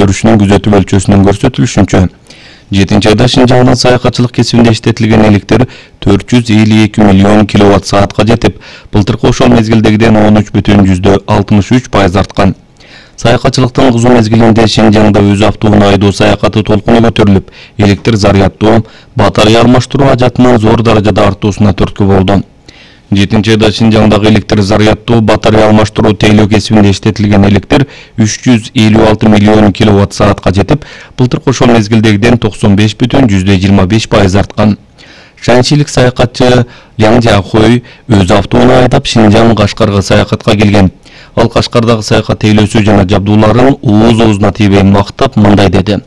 өрүшүнүн күзөтүү өлчөсүнүн көрсөтүлүшүнчө 7-айда Шинжаңдын саякатчылык кесибинде иштетилген электр 452 миллион киловатт саатка жетип, былтыркы ошол мезгилдегиден 13,63% арткан. Саякатчылыктын кызуу мезгилинде Шинжаңда өз автоунаа айдоо саякаты толкуну көтөрүлүп, электр заряддоо, батарея алмаштыруу ажатынын зор даражада артуусуна түрткү болду. 7-айда Шинжаңдагы электр заряддоо, батарея алмаштыруу тейлөө кесибинде иштетилген электр 356 миллион киловатт саатка жетип, былтыркы ошол мезгилдегиден 95,25% арткан. Шанчилик саякатчы Яң Жахой өз автоунаа айдап Шинжаң Кашкарга саякатка келген. Ал Кашкардагы саякат тейлөөсү жана жабдууларын ооз-оозуна тийбей мактап мындай деди: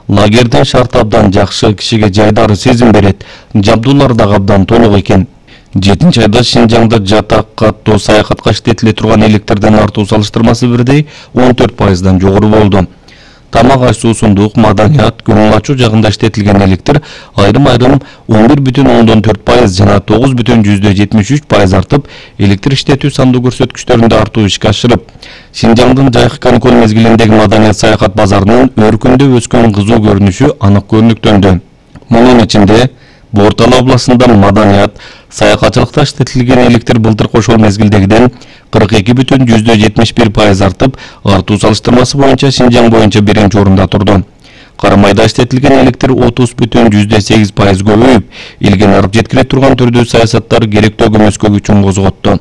"Лагердин шарты абдан жакшы, кишиге жайдары сезим берет. Жабдуулар дагы абдан толук экен." 7-айда Шинжаңда жатак каттоо саякатка иштетиле турган электрдин артуу салыштырмасы бирдей 14%дан жогору болду. Тамак аш, суусундук, маданият, көңүл ачуу жагында иштетилген электр айрым-айрым 11,4% жана 9,73% артып, электр иштетүү сандуу көрсөткүчтөрүндө артуу ишке ашырып, Шинжаңдын жайкы каникул мезгилиндеги маданият саякат базарынын өркүндө өскөн кызуу көрүнүшү анык көрүнүктөндү. Мунун ичинде Бортала областында маданият саякатчылыкта иштетилген электр былтыркы ошол мезгилдегиден 42,71% артып, артуу салыштырмасы боюнча Шинжаң боюнча биринчи орунда турду. Карамайда иштетилген электр 30,8% көбөйүп, элге нарып жеткире турган түрдүү саясаттар керектүү көмөскө күчүн козготту.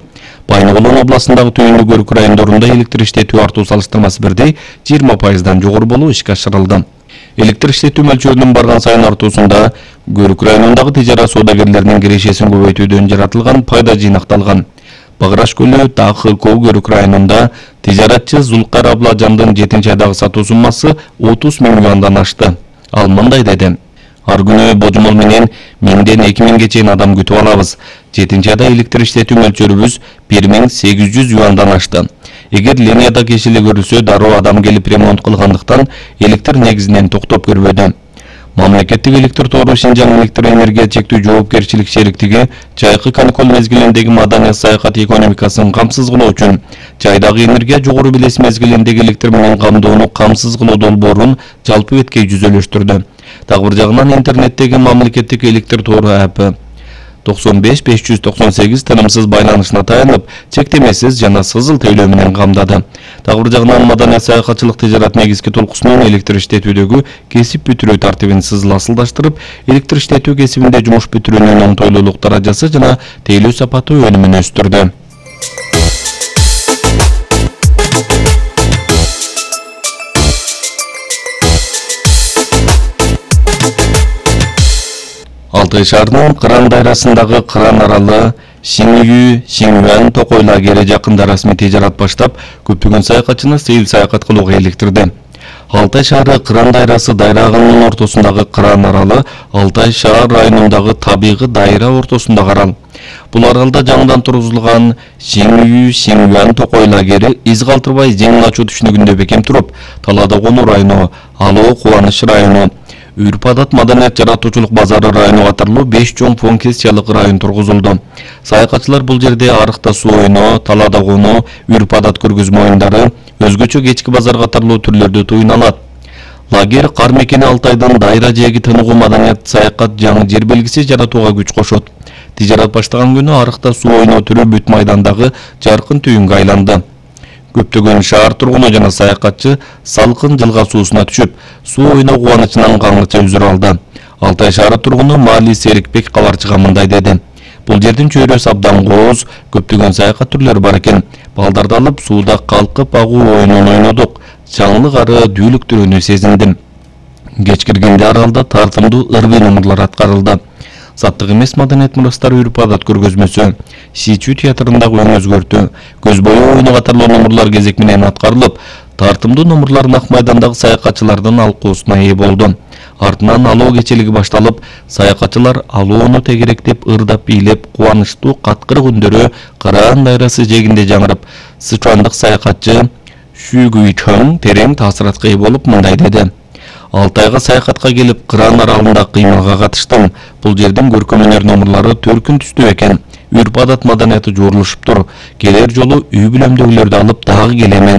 Байнагулон областындагы түйүндүк Өрүк райондорунда электр иштетүү артуу салыштырмасы бирдей 20%дан жогору болуп ишке ашырылды. Электр иштетүү мөлчөрүнүн барган сайын артуусунда Өрүк районундагы тижарат соодагерлеринин кирешесин көбөйтүүдөн жаратылган пайда жыйнакталган. Багыраш көлү ТАХК Өрүк районунда тижаратчы Зулкар Абладжандын 7-айдагы сатуу суммасы 30 000 юандан ашты. Ал мындай деди: "Ар күнү божомол менен 1000ден 2000ге чейин адам күтүп алабыз. 7-айда электр иштетүү мөлчөрүбүз 1800 юандан ашты. Эгер линияда кешили көрүлсө, дароо адам келип ремонт кылгандыктан электр негизинен токтоп көрбөдү." Мамлекеттик электр тору Шинжаң электр энергия чектүү жоопкерчилик шериктиги жайкы каникул мезгилиндеги маданият саякат экономикасын камсыз кылуу үчүн жайдагы энергия жогору белес мезгилиндеги электр менен камдоону камсыз кылуу долбоорун жалпы беткей жүзөлөштүрдү. Дагы бир жагынан интернеттеги мамлекеттик электр тору апы 95-598 тынымсыз байланышына таянып, чектемесиз жана сызыл тейлөө менен камдады. Дагы бир жагынан маданият саякатчылык тижарат негизги толкусунун электр иштетүүдөгү кесип бүтүрүү тартибин сызыл асылдаштырып, электр иштетүү кесибинде жумуш бүтүрүүнүн оңтойлуулук даражасы жана тейлөө сапаты өнүмүн өстүрдү. Алтай шаарынын Кыран дайрасындагы Кыран аралы Сиңюан Токой лагери жакында расмий тижарат баштап, көптөгөн саякатчыны сейил саякат кылууга иликтирди. Алтай шаары Кыран дайрасы дайрагынын ортосундагы Кыран аралы Алтай шаар районундагы табигый дайра ортосундагы арал. Бул аралда жаңыдан тургузулган Сиңюан Токой лагери из калтырбай жеңил ачуу түшүнүгүндө бекем туруп, Талаада Конуу району, Алоо Кубаныч району, Үрпадат маданият жаратуучулук базары району катарлуу 5 чоң функциялык район тургузулду. Саякатчылар бул жерде Арыкта суу ойноо, Талаада Конуу, Үрпадат көргөзмө оюндары, өзгөчө кечки базар катарлуу түрлөрдү туюна алат. Лагер кар мекени Алтайдын дайра жээги тыныгуу маданият саякат жаңы жер белгиси жаратууга күч кошот. Тижарат баштаган күнү Арыкта суу ойноо түрү бүт майдандагы жаркын түйүнгө айланды. Көптөгөн шаар тургуну жана саякатчы салкын жылга суусуна түшүп, суу ойноо кубанычынан каңгыча үзүр алды. Алтай шаары тургуну Маали Серикбек кабарчыга мындай деди: "Бул жердин чөйрөсү абдан кооз, көптөгөн саякат түрлөрү бар экен. Балдарды алып сууда калкып агуу оюнун ойнодук. Жаңылык ары дүүлүктөрүнү сезиндим. Кеч киргенде аралда тартымдуу ырвый номурлар аткарылды. Заттык эмес маданият мурастары Үрпадат көргөзмөсү, Сичүү театрындагы өң өзгөртүү, көз бою оюну катарлуу номурлар кезек менен аткарылып, тартымдуу номурлар Ак майдандагы саякатчылардын алкоосуна ээ болду. Артынан алоо кечелиги башталып, саякатчылар алоону тегеректеп, ырдап бийлеп, кубанычтуу каткырык үндөрү Кыран дайрасы жээгинде жаңырып, сычуандык саякатчы Шүгүйчөң терең таасиратка ээ болуп мындай деди: "Алтайга саякатка келип, Кыран аралында кыймылга катыштым. Бул жердин көркөм өнөр номурлары төркүн түстүү экен. Үрпадат маданияты жуурулушуптур. Келер жолу үй бүлөмдөгүлөрдү алып дагы келемен.